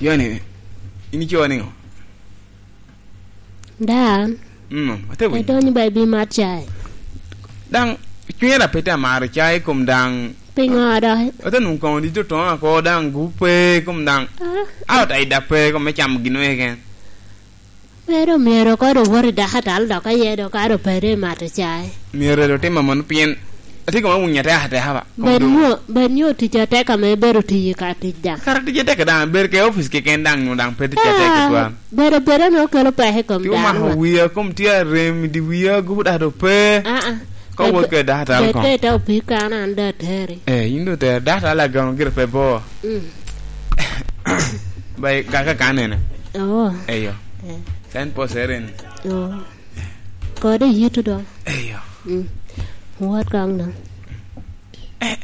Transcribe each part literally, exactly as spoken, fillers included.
Yoni, in ico niŋo? Dan. Mm, ate winyo. Edonyo ba ibi mat cai. Daŋ, cwinya da pe te amaro cai kom daŋ. Piŋo do? Ate nwoŋo koŋo dit otoŋo ako daŋ gupe kom daŋ. Ah. A ota ida pe kom me camo gin keken. Pero myero kod owot i dakatal dok aye dok kado pede i mato cai. Myero do tim aman pien atye kama winyo atek ateka ba. Bed nyo, bed nyo tic atek ame ibedo tiyo i ka tic daŋ. Kara tic atek daŋ, bedo ke opic keken daŋ nyo daŋ pe tic atek tutwal. Ah, bedo bedo ni okelo peko i kom dano ba. Ti omako wiya, kom tye arem, di wiya gudo do pe. Ah, ah. Ka wot ke dakatal kong. Bed ke ite opii kan an da ateri. Eh, in do ter, dakatal agamo gire pe bo. Mm. Ba i kaka ka nene. Oh. Eyo. Eh. Sen po seren. Oh. Kode yitu do. Eyo. Mm. What kong do? Eh.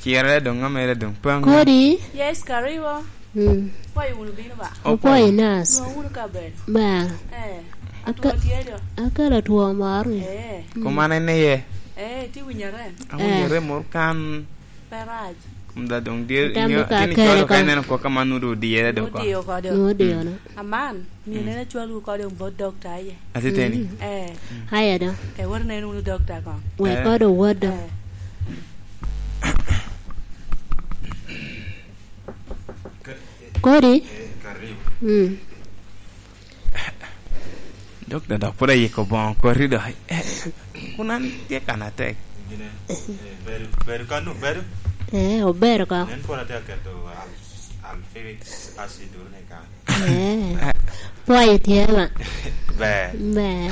Cire doŋ amere doŋ. Pang. Kodi? Yes, karibu. Mm. Kwayo wunu bino ba? Okwayo nas. Nwa wunu ka ber. Ba. Eh. Aka-, atwo tye do. Akala two moro ni. Eh. Kuma nene ye. Eh, ti winyo rem. Awinyo rem moro kan. Pe rac. Kom da doŋ dye, Tam nyo, ka tin kere icwalo ka ka. Ineno koko man nudo odiyere do ko. Nudiyo kode. Nudiyo no. Aman, myero nene cwalwu kode bot dokta aye. Atiteni. Mm. Eh. Aya do. Eh, wot nen wunu dokta ko. Wek kode owot do. Eh. Kodi? Eh, karibu. Mm. Dok da dok pwod ayiko boŋo koti do. Eh, kun an tye kan atek. Gine, eh, bedo, bedo kanu, bedo? Eh, obedo ka. Nen pwod atye aketo al-, alfewic acid duro ni kan. Eh, pwoyo tye ma. Ber. Ber.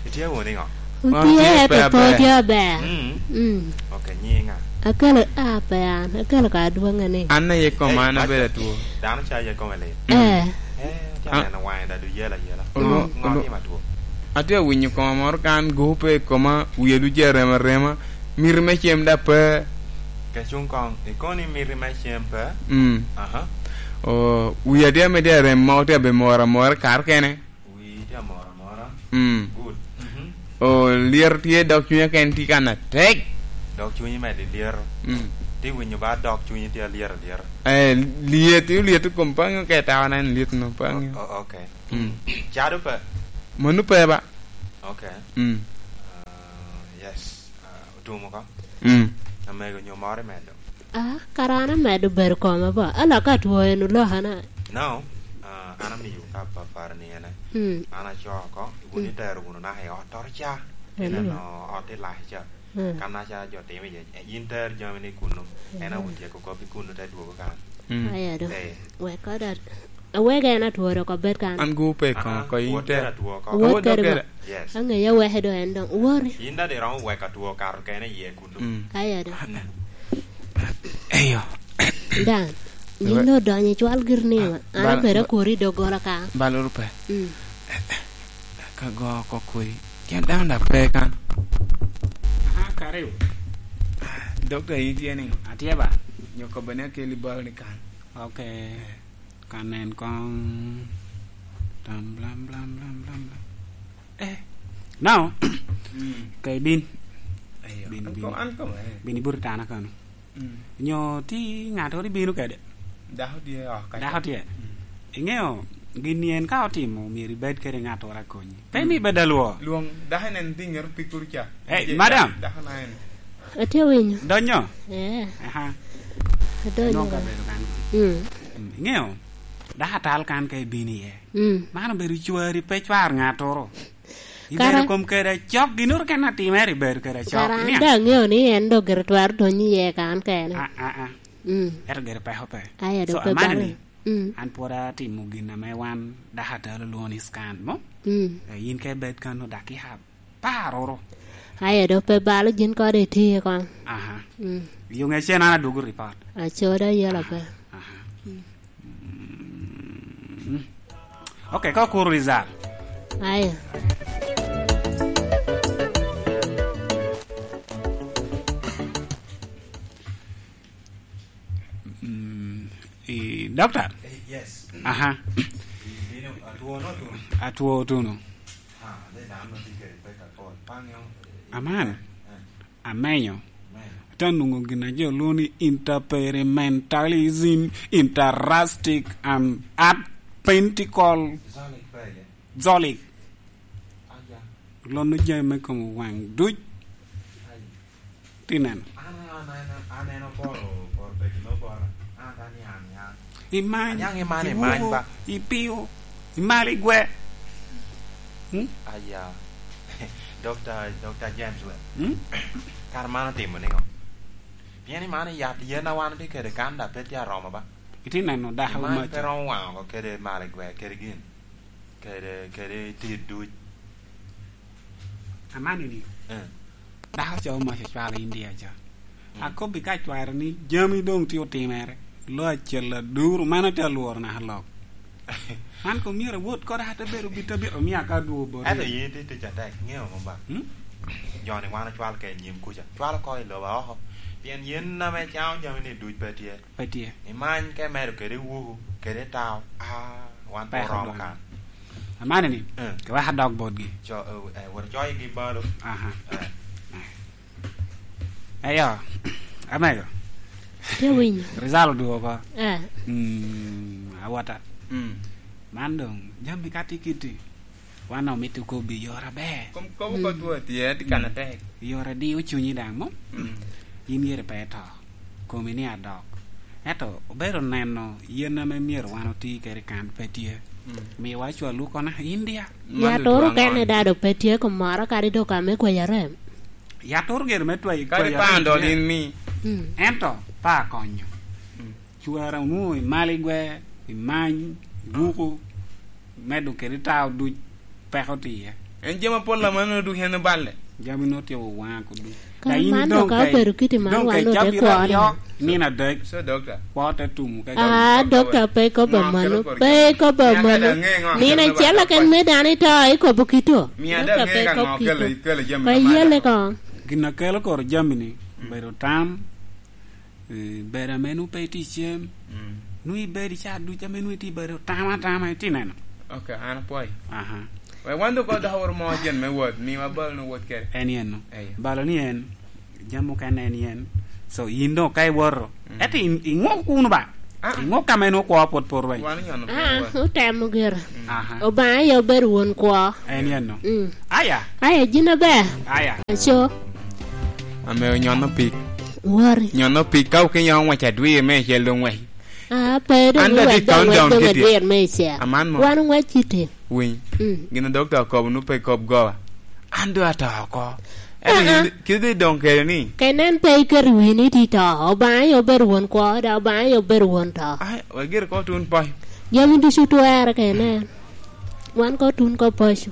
Itye wunu niŋo? Otye, pe otye aber. Mm. Mm. Ok, nyinga. Akelo, a, pe an. Akelo ka adwoŋe ni. An aye koma an abedo atwo. Dano ca aye kome lit. Eh. Eh, atye aneno waŋe da, du yela yela. Ŋo, ŋo atimo atwo? Atye awinyo koma moro kan gupe i koma, wiye ducu arem arema, miti me cem da pe. Ke cuŋ koŋ, ikono ni miti me cem pe? Mm. Aha. O, wiya tye ame tye arem, ma otye abe moro amora kare kene. Wii tye amora amora. Mm. Good. Mhm. O, lyet tye, dok cwinya ken tye kan atek. Dok cwinyi medo lyet. Mm. Ti winyo ba dok cwinyi tye alyet alyet. Eh, lyet, lyet i kom paŋi, ka itawona en lyet no paŋi. O-, o-, ok. Mm. Cado pe? Mano pe ba. Ok. Mm. Ah, yes. Ah, otumo ka. Mm. Amego nyo moro imedo? Ah, kara an amedo bedo koma ba. Ala ka two en olokana. No, ah, an amiyo ka papar ni ene. Mm. An acoo oko, wun itero wunu naka i ot oro ca. Ineno ot i lac ca. Mm. Kan naka jo timo iye, eh, in ter jami ni kunu. En awotyeko kop i kunu te dwogo kan. Mm. Aya do. Eh. Wek kod at-, awek en atworo oko bed kan. An gupe koŋo ko in te. Wot kede ba. Yes. Aŋeya weke do en doŋ. Wori. In dadi romo wek atwo kato kene iye kunu. Mm. Aya do. Eyo. Dan, yin odonyo i cwal giri ni, an abedo akori i doggola ka. Baluru pe. Mm. Ka go oko kodi. Tyen dano da pe kan. Aha, karibu. Dokta, in tye ni? Atye ba. Nyo kobbe ni akeli bal ni kan. Ok. Ka nen koŋ. Tam blam, blam, blam, blam, blam. Eh. Now, mm, ka ibin. Ayo. Bin, an bin. Ko-, an koma, eh. Bin ibut i tana kano. Mm. Nyo ti ŋattoro ibino kede? Dako tye, oh, ka dako tye. Mm. Iŋeo, gin ni en ka otimo, myero ibed kede ŋattoro akonyi. Pe, mm, mi bed alwo. Lwong dako en, en dhi ŋero pikuru ca. Eh, je-, madam. Dako na en. Atye winyo. Donyo? Eh. Aha. Adonyo. Nongo ka bedo kan. Mm. Mm, iŋeo, dako atal kan ka ibino iye. Mm. Man obedo cwari, pe cwar ŋattoro. Ibedo kara kom kede acok, ginnoro kene atimere ibedo kede acok. Kara an daŋ aŋeo ni en dok gire twero donyo iye kan kene. A, a, a. Mm. Ento gire peko pe. Aya, so, dok pe amanni, bale. Mm. An pwod atimo gin ame wan dakatal olwoŋo ni scan mo. Mm. Eh, in ka ibed kano dakika apar oro. Aya, dok pe balo gin kode iti koŋ. Aha. Mm. Yo ŋecen an adwogo report. Acoda yela pe. Aha. Mm. Mm. Ok, ka okuro result. Aya. Mm, i, doctor? Eh, yes. Aha. Bino, atwo no, atwo. Atwo otuno. Ah, then I'm not thinking, like, at all. Pang yung, eh, aman. Eh. Amenyo. Amenyo. Te nwoŋo gin a jo lwongo ni interperimentalism, interastic and apentical. Zolic. Lono jami me kom waŋ duc. Ti neno. Imany, Aniaŋ imany, imany iwuko, ba. Ipio, imalo igwe. Hmm? Aya. Doctor, Doctor James Webb. Hmm? Kara man otimo niŋo? Pien i man i yat yen a wan otye kede kan, da pe tye aromo ba. Itye neno dako. Imany pe romo waŋo oko kede malo igwe, kede gin. Kede, kede tit duc. Amanini. Eh. Dako ca omac ocwalo India ca. Mm. Akobbi ka cware ni jami doŋ tye otimere, lo acel aduru, man atye alworo naka lok. Man koŋ myero awot kore, ate bedo bit abit omia ka adwogo bot. Ento yin tye tic atek, ŋeo ŋo ba? Hmm? Joni wan ocwal ka i nyim kuca. Cwalo ko i lobo oko. Pien yen ame caŋo jami ni duc pe tye. Pe tye. Imany ka imedo kede wuku, kede tao. Ah, wan pe oromo kan. Amanini, eh, ke wek adok botgi. Co, eh, eh, wot coygi balo. Aha. Eh. Eyo, amego. Tye winyo. Rizal odwogo oko. Eh. Mm, awota. Mm. Man doŋ, jami ka tye kitti, wan omito kobbi i yore aber. Kom, kobo kop tye, tye kan atek. I yore diyo cunyi daŋ, mo? Mm. In yere pe ito. Komi ni adok. Ento obedo neno yen ame myero wan oti kede kan pe tye. Mm. Miwa cwal wu kono India. Yat oro kene dado pe tye kom moro kadi dok ame kwayo arem. Yat oro gire me twayo, kadi kwayo arem pando tye. Din mi. Mm. Ento pe akonyo. Mm. Cwara onwoŋo imalo igwe, imany, ibuko, medo kede tao duc. Peko tye iye. En jami apol amannono ducu en oballe. Jami no tye owaŋa kudu. Kara man doŋ ka obedo kiti man wan ote kwone. Nino adek. So, dokta. Kwo te tumu ka. Ah, dokta pe ikobo amano. Pe ikobo amano. Nino acel keken me dano ito, ikobo kito. Dokta pe ikobo kito. Pe yele koŋ. Gin a kelo kor jami ni, mm, bedo tam, eh, bedo ame nwoŋo pe itye i cem, mm, nwoŋo ibedo i ca ducu ame nwoŋo itye i bedo tam atama, itye neno. Ok, an apwoyo. Aha. Wek wan doŋ dok woro mo jen me wot, miwa balo nwoŋo wot kede. En yen no. Eyo. Balo ni en, jami mukene en yen. So, yin doŋ ka iwoto, mm, ento i-, iŋok kuno ba? Ah. Iŋok ka ma en okwo pwod pe orweny. Wan onyono pe. Ah, wot. Otemo gire. Mm. Aha. Obaŋa aye obedo won kwo. En yen no. Mm. Aya. Aya, jin aber. Aya. Aco. Ame onyono pik. Wori. Nyono pik ka okinyo ŋwec adwir me icel doŋ ŋwec. Ah, pe doŋ. An doŋ ŋwec doŋ adwir me icel. Aman mo. Wan ŋwec kite. Winy. Mm. Gin a dokta okobo nu pe kop goba. An doŋ ato oko. Ah, ah. Ento yin kite doŋ kede ni. Ka inen pe iketo i wii ni tye to, Obaŋa aye obedo won kwo, dok Obaŋa aye obedo won to. Ai, wek gire ko tun poi. Jami ducu twere ka inen. Wan ko tun ko paco.